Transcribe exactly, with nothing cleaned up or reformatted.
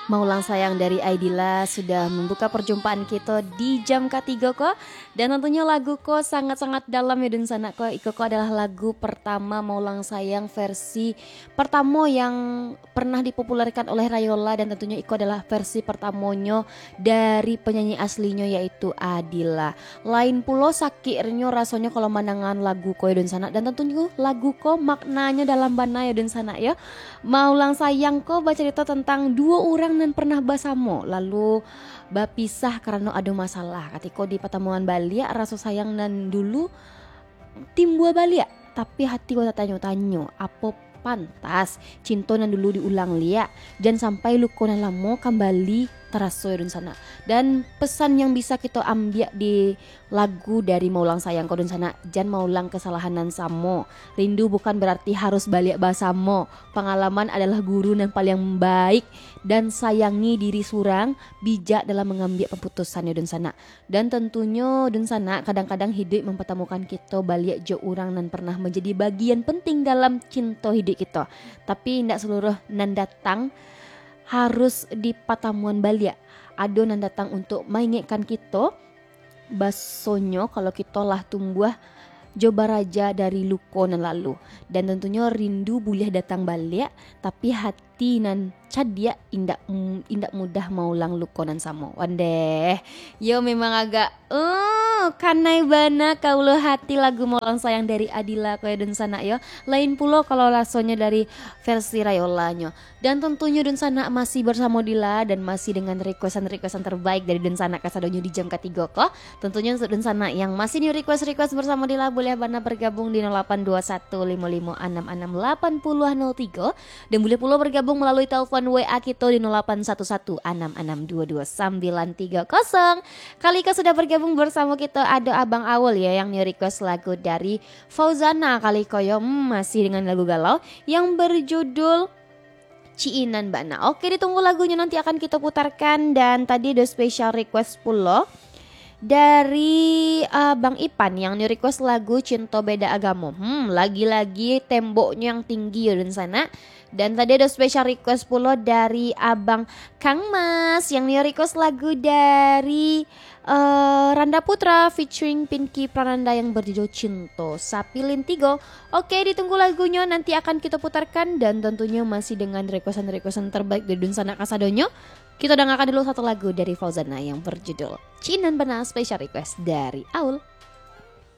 Maulang Sayang dari Aidila sudah mambuka parjumpaan kito di jam katigo ko. Dan tantunyo lagu ko sangat-sangat dalam yo dunsanak ko. Iko ko adalah lagu partamo Maulang Sayang versi partamo yang pernah dipopulerkan oleh Rayola, dan tantunyo iko adalah versi partamonyo dari penyanyi aslinyo, yaitu Adila. Lain pulo sakiknyo rasonyo kalau mandangaan lagu ko yo dunsanak, dan tantunyo lagu ko maknanyo dalam bana yo dunsanak yo. Maulang Sayang ko bacarito tantang duo urang nan pernah basamo, lalu bapisah karano ado masalah. Katiko dipatamuan baliak, raso sayang nan dulu timbua baliak, tapi hati ko tatanyo-tanyo, apo pantas cinto nan dulu diulang liak, jan sampai luko nan lamo kambali taraso yo dunsanak. Dan pesan yang bisa kito ambiak di lagu dari Maulang Sayang ko dunsanak, jan maulang kesalahan nan samo. Rindu bukan berarti harus baliak basamo. Pangalaman adalah guru nan paliang baik, dan sayangi diri surang, bijak dalam mangambiak kaputusan yo dunsanak. Dan tantunyo dunsanak, kadang-kadang hiduik mampatamukan kito baliak jo urang nan pernah manjadi bagian penting dalam cinto hiduik kito. Tapi indak saluruh nan datang harus dipatamuan baliak. Ado nan datang untuk maingetkan kito, basonyo kalau kito lah tumbuah jo baraja dari luko nan lalu. Dan tantunyo rindu buliah datang baliak, tapi hati nan cadiak indak, mm, indak mudah maulang luko nan samo. Wandeh, yo memang agak, uh, kanai bana ka ulu hati lagu Maulang Sayang dari Adila ko yo dunsanak yo. Lain pulo kalau rasonyo dari versi Rayolanyo. Dan tantunyo dunsanak masih bersamo Dila dan masih dengan requestan-requestan terbaik dari dunsanak kasadonyo di jam katigo ko. Tantunyo untuk dunsanak yang masih nio request-request bersamo Dila, buliah bana bergabung di nol lapan dua satu limo limo anam anam lapan puluh nol tigo, dan buliah pulo bergabung melalui telepon W A kito di nol lapan satu satu anam anam dua dua sambilan tiga kosong. Kali ko sudah bergabung bersamo kito ado Abang Awul yo, yang nio request lagu dari Fauzana kali ko yo. Hmm, masih dengan lagu galau yang berjudul Ciinan Bana. Oke, ditunggu lagunyo, nanti akan kito putarkan. Dan tadi ado special request pulo dari, uh, Bang Ipan yang nio request lagu Cinto Beda Agamo. Hmm, lagi-lagi temboknyo yang tinggi yo dunsanak. Dan tadi ado special request pulo dari Abang Kang Mas yang nio request lagu dari, uh, Randa Putra featuring Pinky Prananda yang berjudul Cinto Sapilin Tigo. Oke, ditunggu lagunyo, nanti akan kito putarkan, dan tantunyo masih dengan requestan-requestan terbaik dari dunsanak kasadonyo. Kito dangakan dulu satu lagu dari Fauzana yang berjudul Ciinan Bana, special request dari Aul.